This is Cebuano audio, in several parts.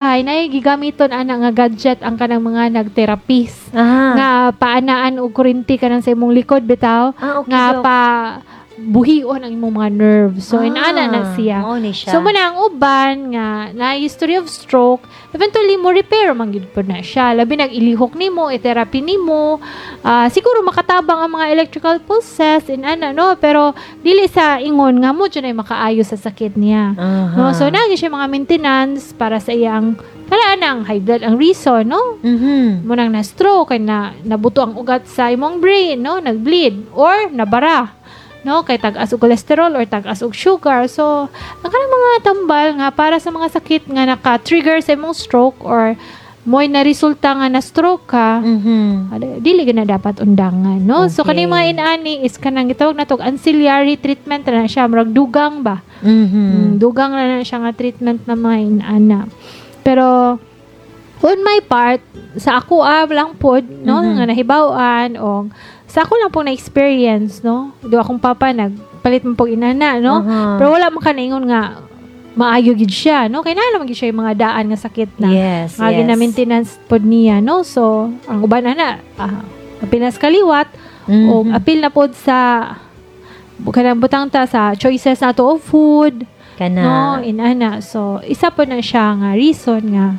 Nay gigamiton ana nga gadget ang kanang mga nag-therapist nga paanaan og kuryente kanang sa imong likod bitaw nga Dok. Pa buhion ang imong mga nerves. So inaana na siya. Mao ni siya. So mo na ang uban nga na history of stroke, eventually mo repair man gyud pod na siya. Labi nag ilihok nimo, i-therapy nimo, siguro makatabang ang mga electrical pulses inana, no, pero dili sa ingon nga mo jud ay makaayo sa sakit niya. No, so naa siya mga maintenance para sa iyang para anang high blood ang reason, no? Mo nang na stroke kay na nabuto ang ugat sa imong brain, no, nag-bleed or nabara, no, kay tag-as og cholesterol or tag-as og sugar. So ang kanang mga tambal nga para sa mga sakit nga naka-trigger sa imong stroke or mo'y na resulta nga na stroke ka, dili gyud na dapat undangan, no? So kaning mga inani is kanang gitawag nato og ancillary treatment na siya, murag dugang ba. Dugang na siya nga treatment na mga inana. Pero on my part, sa ako lang pod, no, nga nahibaw-an o sa ako lang po na experience, no. Do akong papa nagpalit man pog inana, no. Pero wala man ka naingon nga maayo gid siya, no. Kay naa naman gid siya yung mga daan nga sakit na nga gina-maintenance pod niya, no. So ang uban ana apinas kaliwat o apil na pod sa kanang butang ta sa choices nato of food, Kana. no, inana. So isa po na siya nga reason nga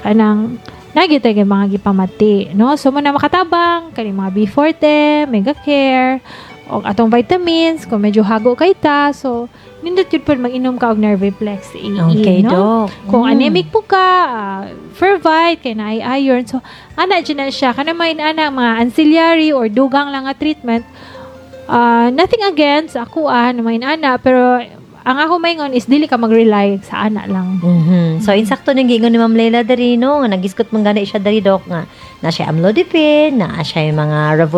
kanang nagita kay mga gipamati, no. So mo na makatabang kani mga B40, Mega Care o atong vitamins kung medyo hago kay ta. So nindot yun po mag-inom ka og Nerviplex AE, no? Dok. Kung anemic po ka, Fervite, kay naay iron. So, ana dyan na siya. Kana may ana, mga ancillary or dugang lang nga treatment. Nothing against ako na may ana, pero ang ako maingon is dili ka mag-rely sa ana lang. So insakto nang giingon ni Ma'am Leila diri, no, nga nagisgot man gani siya diri, Dok, nga na siya amlodipine, na siya yung mga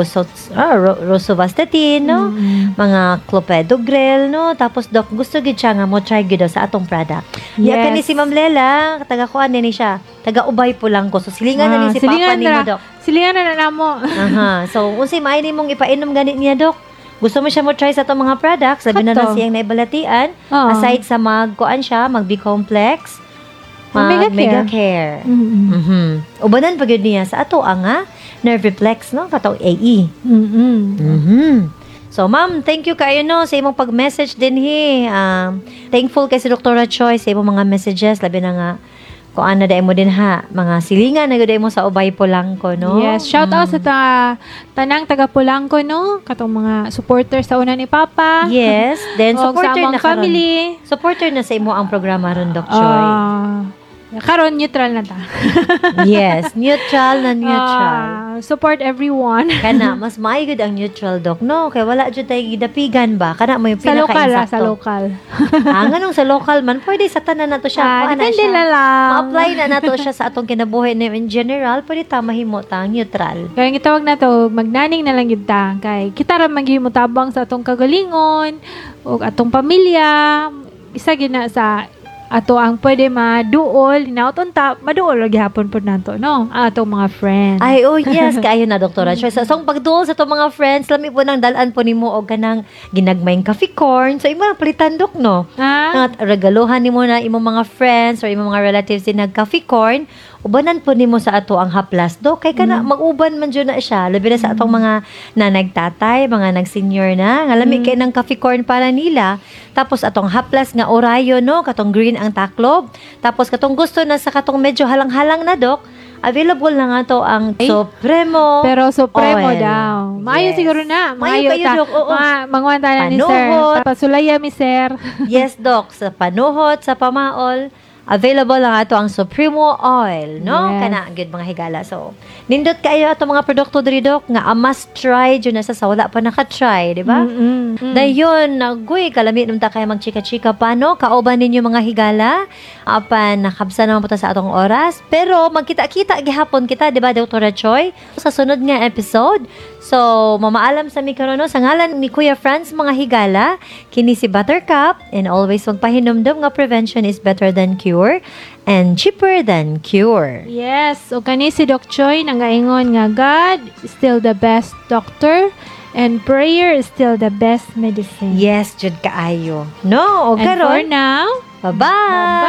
rosuvastatin, no, mga clopidogrel, no. Tapos, Dok, gusto gid siya nga mo try gid daw sa atong product. Yes. Kani si Ma'am Lela, taga kuan ni siya, taga Ubay Polanco. So silingan na ni si Papa Silingan nimo, ra. Dok. Silingan na na namo. Aha. So unsay maayo nimong ipainom gani niya, Dok? Gusto mo siya mo try sa atong mga products, sabi na Kato. lang siyang naibalatian. Oo. Aside sa mag kuan siya, mag B complex, mag Mega Care. Mega Care. Ubanan pa gyud niya sa ato ang Nerviplex, no, katong AE. So ma'am, thank you kayo, no, sa imong pag-message din hi. Thankful kay si Dr. Choi sa imong mga messages, labi na nga kuan na dai mo din ha, mga silingan na gyud mo sa Ubay Polanco, no. Yes, shout out sa tanang taga Polanco, no, katong mga supporters sa una ni Papa. Yes, then Og sa supporter among na karon. family. Supporter na sa imo ang programa ron, Doc Choi. Karon neutral na ta. Yes, neutral na neutral. Support everyone. Kana mas maayo gud ang neutral, Doc, no, kay wala jud tay gidapigan ba, kana mo yung Sa local, sa pinaka-insakto. Local. Nganong sa local man? Pwede sa tanan nato siya. Kuha na Depende siya. na lang. Ma-apply na nato siya sa atong kinabuhi na in general, pwede ta mahimo ta neutral. Kaya ang gitawag na to, magnaning na lang gyud ta. Kay kita ra man gyud motabang sa atong kagalingon o atong pamilya. Isa gyud na sa ato ang pwede maduol, hinaut unta, maduol ra gihapon pud nato, no? Ang atong mga friends. Ay, oh yes, kaayo na, Doktora Choi. So ang pagduol sa atong mga friends, lami po nang dalan po nimo og kanang ginagmayng coffee corn. So imo nang palitan, Dok, no? Ah? Nga regaluhan nimo na imong mga friends or imong mga relatives din nag coffee corn, ubanan po nimo sa ato ang haplas, Dok, kay kana mag-uban man jud na siya, labi na sa atong mga nanay, tatay, mga nag-senior na nga lami kay ng coffee corn para nila. Tapos atong haplas nga Orion, no, katong green ang taklob. Tapos katong gusto na sa katong medyo halang-halang na, Dok, available na nga to ang Ay. Supremo Pero Supremo Oil. daw. Maayo siguro na. Maayo Maayo kayo, ta. Dok. Oo. Mga mangwanta na ni sir. Panuhot. Pasulaya mi, sir. Yes, Doc. Sa panuhot, sa pamaol, available lang ato ang Supremo Oil, no? Yes. Kana, good mga higala. So, nindot kayo ato mga produkto diri, Dok, nga a must try jud na sa wala pa naka-try, di ba? Dayon, agoy, kalami nung ta kayo magchika-chika pa, no? Kauban ninyo, mga higala. Apan, nakabsa naman po ta sa atong oras. Pero, magkita-kita gihapon kita, di ba, Dr. Choi? Sa sunod nga episode. So, mamaalam sa mi karon, no? Sa ngalan ni Kuya Franz, mga higala, kini si Buttercup, and always magpahinumdum nga prevention is better than cure and cheaper than cure. Yes. O kani si Doc Choi nangaingon nga God is still the best doctor and prayer is still the best medicine. Yes, jud kaayo. No, o And for karon, now, bye-bye!